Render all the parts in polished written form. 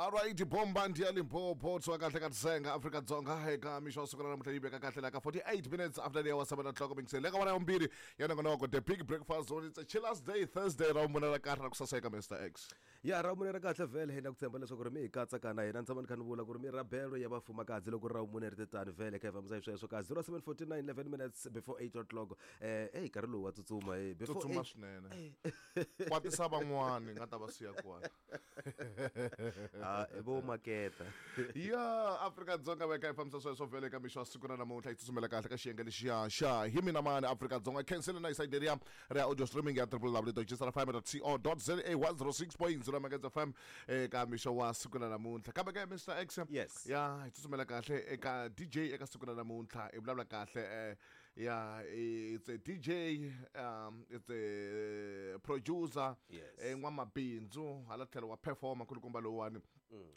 Alright, bomba ndi ya Limpopo tswa kahle ka Tisenga Afrika-Dzonga eka mixo wa siku ra namuntlha yi veka kahle la ka 48 minutes after the hour 7 o'clock mingiseli eka wona ya vumbirhi ya nongonoko the big breakfast zone. It's a chillers day Thursday ra vumune ra kahle ra ku saseka Mr X. Ya ra vumune ra kahle vhele hi na ku tshemba leswaku ri mi hi katsa na hina ni tshama ni kha ni vula ku ri mi rabelo ya vafumakadzi loko ri ra vumune ri te tani vhele kha hi fambisa hi sweswo ka 0749 11 minutes before 8 o'clock. Eyi nkarhi lowu wa tsutsuma before tsutsuma swinene. Kwatisa van'wani nga ta va siya kwala. Ah, vo maketa. Ya Afrika-Dzonga veka hi fambisa sweswo vhele ka mixo wa siku ra namuntlha hi tsutsumela kahle ka xiyenge lexiya xa hi mina mani Afrika-Dzonga. Khensile na isayidi leriya ra audio streaming ya www.gsrfm.co.za 106.0 Megahertz FM eka mixo wa siku ra namuntlha. Kambe ka Mr X, Yes. ya hi tsutsumela kahle eka DJ eka siku ra namuntlha hi vulavula kahle ya it's a DJ, it's a producer. Yes. N'wamabindzu hala tlhelo wa performer kulukumba lowuwani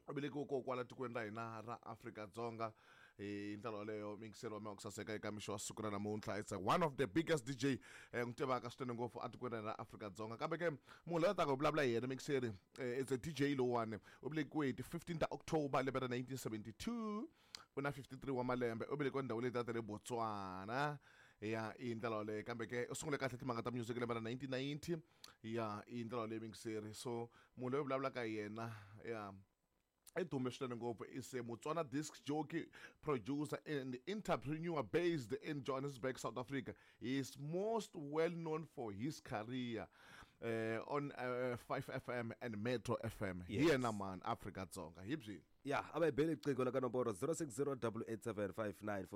u velekiwe ko kwala tikweni ra hina ra Afrika-Dzonga hi ndlela yoleyo mingiselo wa mina wa ku saseka eka mixo wa siku ra namuntlha. It's one of the biggest DJ n'wi tivaka swinene ngopfu etikweni ra hina ra Afrika-Dzonga. Kambe ke munhu loyi a taka hi vulavula hi yena mingiseri, it's a DJ lowuwani u velekiwe hi ti 15 ta October lembe ra 1972, u na 53 wa malembe, u velekiwe ndhawu leyi ta le Botswana ya i ndlela yoleyo. Kambe ke u sungule kahle timhaka ta music lembe ra 1990 ya i ndlela yoleyo mingiseri. So munhu loyi vulavulaka hi yena ya i dume swinene ngopfu, is a Motswana disc jockey, producer and entrepreneur based in Johannesburg, South Africa. He is most well known for his career on 5FM and Metro FM. Hi yena man Afrika-Dzonga hi byi. Ya a va hi beli riqingho la ka nomboro 0608875942 va hi byela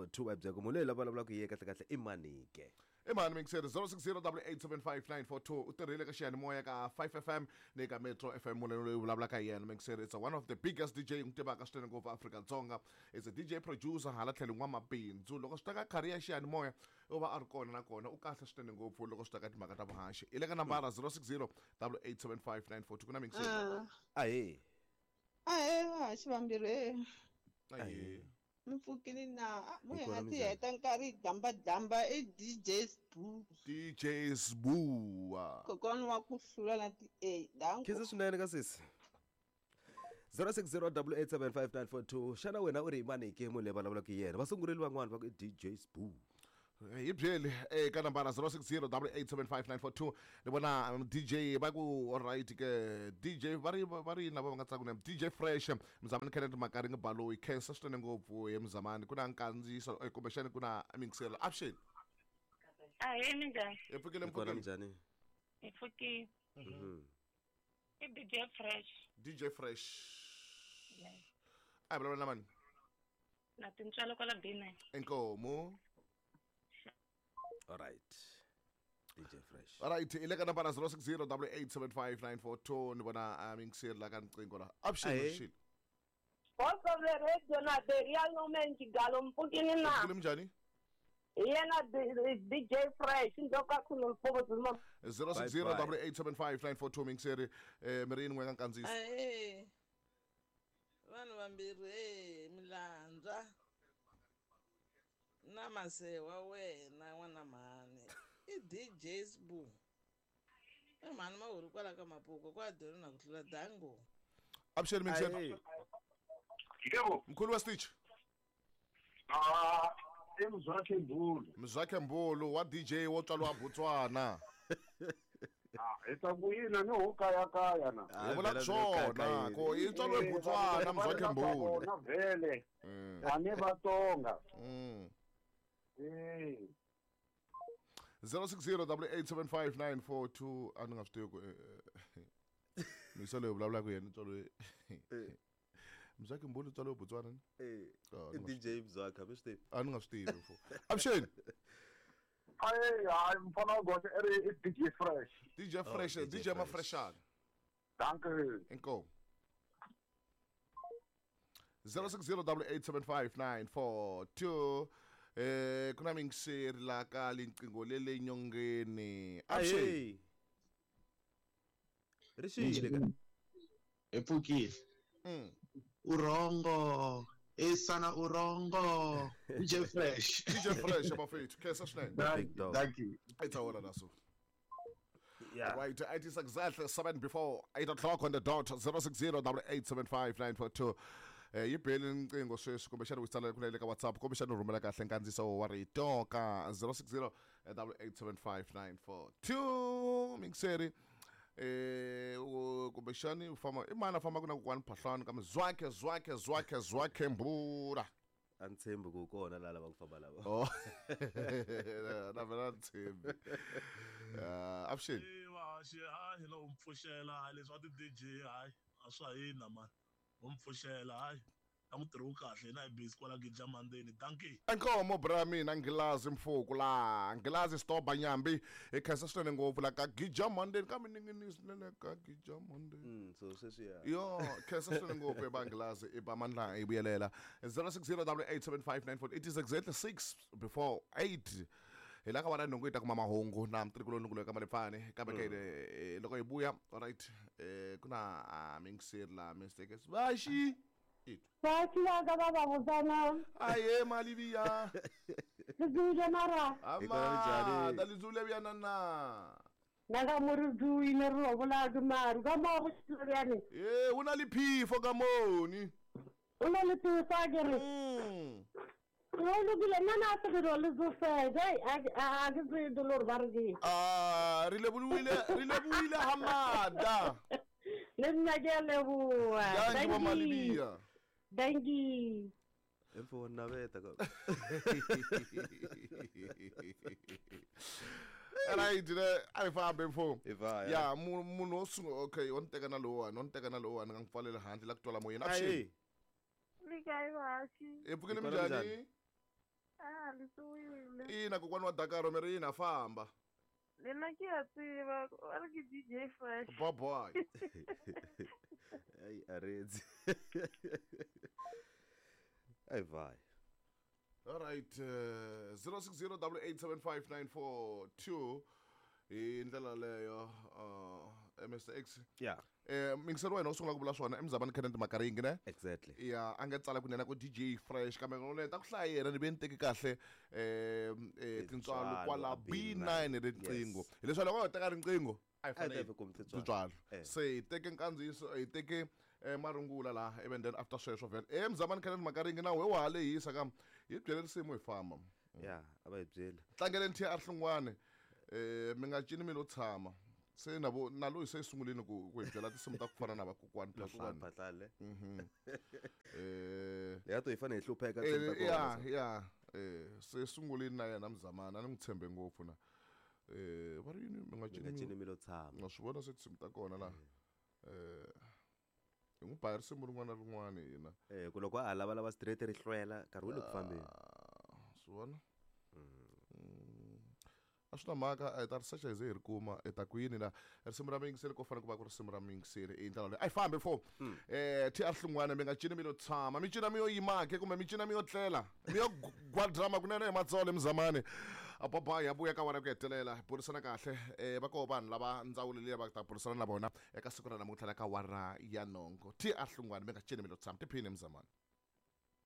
ku munhu loyi la vulavulaka hi ye kahle kahle i manike. I mani mingiseri 0608875942 u tirhile ka xiyanimoya ka 5FM ni ka Metro FM. Munhu loyi vulavulaka hi yena mingiseri it's one of the biggest DJ n'wi tivaka swinene ngopfu Afrika-Dzonga. It's a DJ producer hala tlhelo n'wamabindzu. Loko swi ta ka career ya xiyanimoya u va a ri kona na kona u kahle swinene ngopfu loko swi ta ka timhaka ta vuhaxi. I le ka nambara 0608875942 ku na mingiseri. Ahee. Ahee vahaxi vambirhi. Ahee. Mi pfukile na mu hi nga ti heta nkarhi damba damba i DJ Sbu. DJ Sbu. Kokwana wa ku hlula na ti A. Danko. Khensa swinene ka sisi. 0608875942 xana wena u ri mani ke munhu leyi vulavulaka hi yena? Vasungureli van'wana va ku i DJ Sbu. Hi byeli eka nambara 0608875942 ni vona DJ va ku alright ke DJ va ri va ri lava va nga tsaka na DJ Fresh Mzamani Kenneth Makaringi Baloyi. Khensa swinene ngopfu hi Mzamani ku na nkandziyiso kumbexani ku na mingiselo. Avuxeni. Ahee minjhani? Hi pfukile Hi kona mpfukile. minjhani? Hi pfukile. I DJ Fresh. DJ Fresh. Yes. A hi vulavula na mani? Na tintswalo kwala B9. Inkomu. All right. DJ Fresh. All right, i le ka nambara 0608875942 ni vona mingiseri la ka riqingho la. Avuxeni Ahee. Rixile. Voice of the radio na the real woman Gigalo mpfukini na. Mpfukile minjhani? Hi yena DJ Fresh ndoka khulu mfumo. 0608875942 mingiseri mi ri yini n'we ka nkandziyiso? Ahee. Vanhu vambirhi milandza na mase wa wena n'wana mhani i DJ Sbu. I mhani mahuri kwala ka Mapuko kwa doni na ku hlula dango. Avuxeni mingiseri. Ahee. Yebo. Mkhulu wa Stitch. Ah, i Mzwakhe Mbulu. Mzwakhe Mbulu wa DJ wo tswariwa Botswana. Ah, hi ta ku yini ni ho kaya kaya na. Hi vula swona ko i tswariwe Botswana Mzwakhe Mbulu. Na vhele. A ni Vatsonga. 0608875942 a ni nga swi tivi ku misa leyi vulavulaka yena tswariwe Mzwakhe Mbulu tswariwe Botswana ni? Ah, I DJ Mzwakhe, mi swi tivi. A ni nga swi tivi fo. Avuxeni. Ayi, hayi mfana wa goxe i ri i DJ Fresh. DJ Fresh, DJ DJ Fresh. Mafreshana. Dankie. Inkomu. 0608875942 ku na mingiseri la ka linqingho le le nyongeni. Avuxeni. Ahee. Rixile ka. Hi pfukile. Urongo. Esana urongo. DJ Fresh. DJ Fresh abafethu. Khensa swinene. Big dog. Thank you. I ta wona naso. Yeah. Right, it is exactly 7 before 8 o'clock on the dot, 060 875 942. Yi beli nqingho sweswi, kumbexana u tsalela kunene ka WhatsApp, kumbexana u rhumela kahle nkandziso wa rito ka 060 875 942. Mingiseri, kumbexani u famba i mani a fambaka na kokwani Phahlani kambe zwakhe zwakhe zwakhe zwakhe mbura. A ni tshembi ku kona laha lavaka ku famba lava. Oh. Na vhela ni tshembi. Avuxeni. Vahaxi, hayi hi lo mpfuxela, hayi leswi wa ti-DJ, hayi a swa hina mani, ho mpfuxela, hayi a ku tirhiwi kahle, hina hi busy kwala Gija Mandeni, dankie. Inkomo bra mina Nghilazi Mfuku la Nghilazi Stoba Nyambi hi khensa swinene ngopfu la ka Gija Mandeni ka miningini swinene ka Gija Mandeni. So sweswiya. Yo, khensa swinene ngopfu eba Nghilazi eba mandla hi vuyelela 0608875948. It is exactly 6 before 8. Hi la ka vana nhungu hi ta kuma mahungu na mtirikulo loyi ka Malefani kambe ke loko hi vuya, alright, ku na mingiseri la mistakes vaxi Vaxi va va vutana. Aye Malivia. Lizule mara. Ama, da lizule bya na. Na ka mo re duile re lo bola ke maru ka mo go tsile. Eh, una le phifo ka moni. Una le phifo a ke re. O lokile nna na se ke le zo fetsa a ke tse dolor ba re ke. Ah, re lebohile Hamada. Le nna ke a leboha. Thank you Malivia. Thank you. Emfo na beta ka. Right, a fambe mfo. Ya munhu wo sungula, okay, o ni teka na lowuwani, o ni teka na lowuwani nga n'wi pfalela handle la ku twala moyeni. Avuxeni. Ni kae vahaxi? Hi pfukile minjhani? Ah, ni suwile. Ina kokwani wa Dakar mi ri yini a famba. Nina ke a tseba, a re ke DJ Fresh. Bye bye. Ai aredzi. Ai vai. All right, 0608875942 hi ndlela leyo, Mr X. Yeah. Mingiseri wa hina u sungula ku vula swona emzamani Kenneth Makaringi ne? Exactly. Ya, a nga tsala kunene ku DJ Fresh kambe ni ta ku hlaya yena ni ve ni teki kahle tintswalo kwala B9 riqingho. Hileswaku loko ho teka riqingho a hi fanele tintswalo. Se hi teke nkandziyiso, hi teke marungula laha even then after sweswo vhele. Mzamani Kenneth Makaringi na wehe wa ha lehisa kam hi byele risimu hi famba. Ya, a va hi byeli. Tlangeleni TR Hlungwane. Mi nga cini mi lo tshama. Se na vo na loyi se sungulini ku hi byela tinsimu ta ku fana na vakokwani Phahlane. Phahlane. Ya to hi fanele hi hlupheka tinsimu ta kona. Ya, ya. Se sungulini na yena Mzamani, a ni n'wi tshembe ngopfu na. Va ri yini mi nga cini mi lo tshama. Nga swi vona se tinsimu ta kona laha. Hi n'wi ba risimu rin'wana na rin'wana hina. Ku loko a lava lava straight ri hlwela nkarhi wu le ku fambeni. Swi vona? A swi na mhaka, hi ta ri secha hi ze hi ri kuma hi ta ku yini la risimu ra muyingiseri ko fanele ku va ku risimu ra muyingiseri i ndlela leyi a yi fambi fo. TR Hlungwane mi nga cini mi lo tshama, mi cina mi yo yima ke kumbe mi cina mi yo tlela mi yo gwadrama kunene hi matsolo emzamani. Bye ya vuya ka wena ku hetelela hi burisana kahle. Va koho vanhu lava ndzawulo liya va ta burisana na vona eka siku ra namuntlha la ka wara ya nhongo. TR Hlungwane mi nga cini mi lo tshama, tiphini emzamani.